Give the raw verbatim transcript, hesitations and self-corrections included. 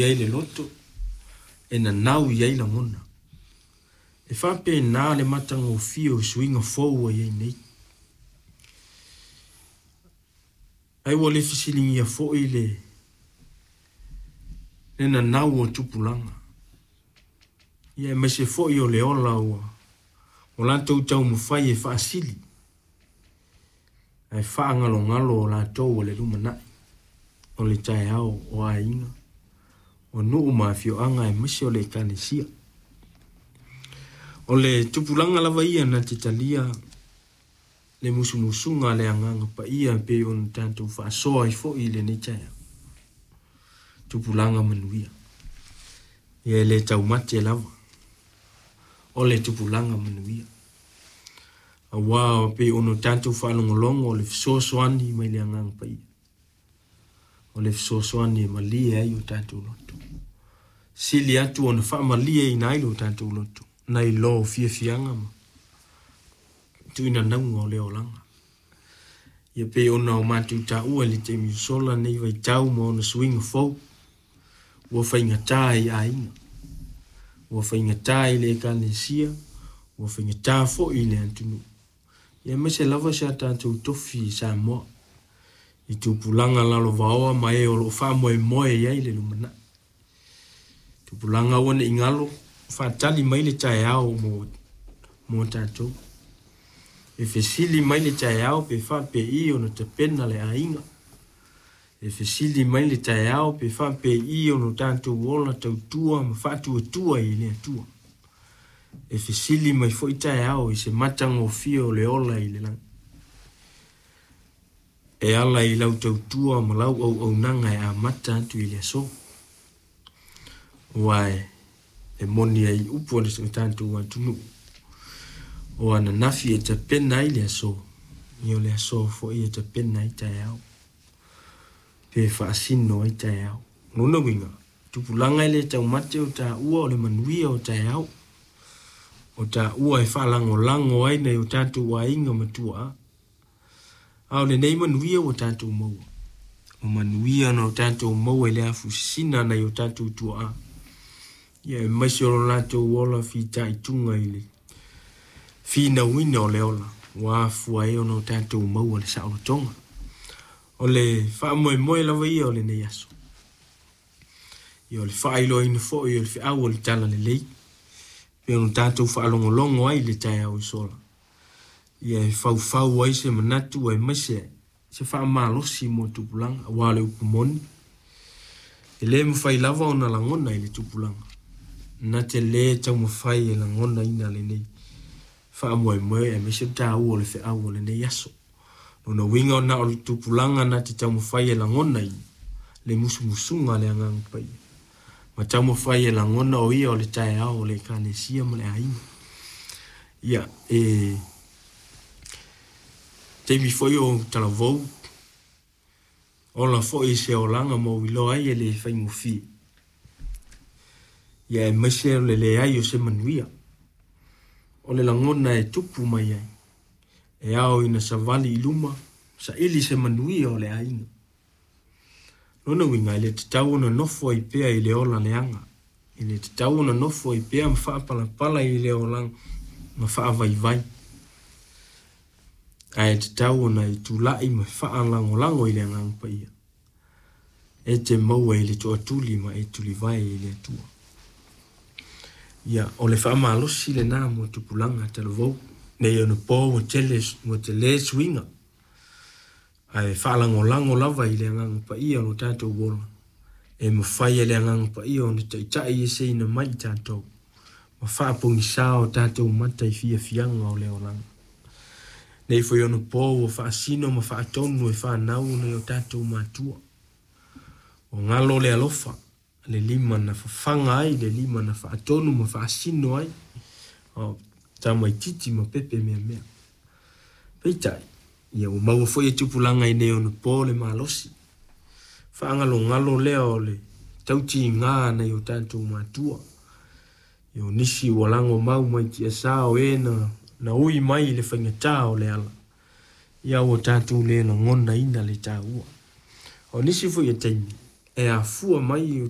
Ai le loto e nanau i ai lagona. E faapena le matagofie o suiga fou ua i ai nei. Ai ua le fesiligia foi le le nanau o tupulaga. Ia aemaise foi o le ola ua o latou taumafai e faasili ae faagalogalo o latou o le lumanai o le taeao o aiga, o nuu ma afioaga aemaise o le Ekalesia. O le tupulaga lava ia na te talia le musumusuga a le Agaga Paia e pei ona tatou faasoa ai foi i lenei taeao. Tupulaga manuia. Ia e le taumate lava o le tupulaga manuia. Aua e pei ona tatou faalogologo o le fesoasoani mai le Agaga Paia. O le fesoasoani e malie ai o tatou loto. Sili atu ona faamalieina ai lo tatou loto nai lo fiafiaga ma tuuinanauga o le olaga. Ia pei ona o matou taua i le taimi ua sola lenei vaitau ma ona suiga fou, ua faigata i aiga, ua faigata i le Ekalesia, ua faigata foi i le atunuu, ia aemaise lava si a tatou tofi i Samoa, i tupulaga lalovaoa ma e o lo o faamoemoe i ai le lumanai. Tupulaga aua ne i galo, faatali mai le taeao mo, mo tatou. E fesili mai le taeao pe faapei ona tapena le aiga. E fesili mai le taeao pe faapei ona tatou ola tautua ma faatuatua i le Atua. E fesili mai foi taeao i se matagofie o le ola i le lagi. E ala i lau tautua ma lau auaunaga e amata atu i le aso. Aua e, e moni ai upu a le tatou atunuu, o ananafi e tapena ai le aso, ia o le aso foi e tapena ai taeao, pe faasino ai taeao. Lona uiga, tupulaga e le taumate o taua o le manuia o taeao, o taua e faalagolago ai nai o tatou aiga ma tuaa. A o lenei manuia ua tatou maua, o manuia na o tatou maua i le afusina nai o tatou tuaa, ia aemaise o lo latou ola fitaituga i le finauina o le ola, ua afua ai ona o tatou maua le saolotoga. O le faamoemoe lava ia o lenei aso. Ia o le faailoaina foi o le feau o le Talalelei, pei ona tatou faalogologo ai i le taeao ua sola. Ia e faufau ai se manatu aemaise se faamalosi mo tupulaga, aua o le upu moni, e le mafai lava ona lagona i le tupulaga, na te le taumafai e lagonaina lenei faamoemoe aemaise le taua o le feau o lenei aso. Lona uiga na o le tupulaga na te taumafai e lagonaina le musumusuga a le Agaga Paia, ma taumafai e lagona o ia o le taeao o le Ekalesia ma le aiga. Ia, e taimi foi o talavou, ola foi i se olaga ma ou iloa ai e le faigofie. Ia aemaise o le leai o se manuia, o le lagona e tupu mai ai, e ao ina savali i luma, saili se manuia o le aiga. Lona uiga, e le tatau ona nofo ai pea i le ola leaga, e le tatau ona nofo ai pea ma faapalapala i le olaga ma faavaivai, ae tatau ona e tulai ma faalagolago i le Agaga Paia, e te maua i le toatuli ma e tulivae i le Atua. Ia, o le faamalosi lena mo tupulaga talavou, nei ona po ua tele, ua tele suiga, ae faalagolago lava i le Agaga Paia o lo tatou ola, e mafai e le Agaga Paia ona taitai eseina mai i tatou, ma faapogisa o tatou mata i fiafiaga o le olaga. Nei foi ona po ua faasino ma faatonu e fanau nai o tatou matua. O galo le alofa, le lima na fafaga ai, le lima na faatonu ma faasino ai, o tamaititi ma pepe meamea. Peitai, ia ua maua foi e tupulaga i nei ona po le malosi, faagalogalo lea o le tautiga nai o tatou matua. Ia o nisi ua lago mau mai tiasa o e na, na ui mai i le faigata o le ala, ia ua tatou le lagonaina le taua. O nisi foi o taimi, e afua mai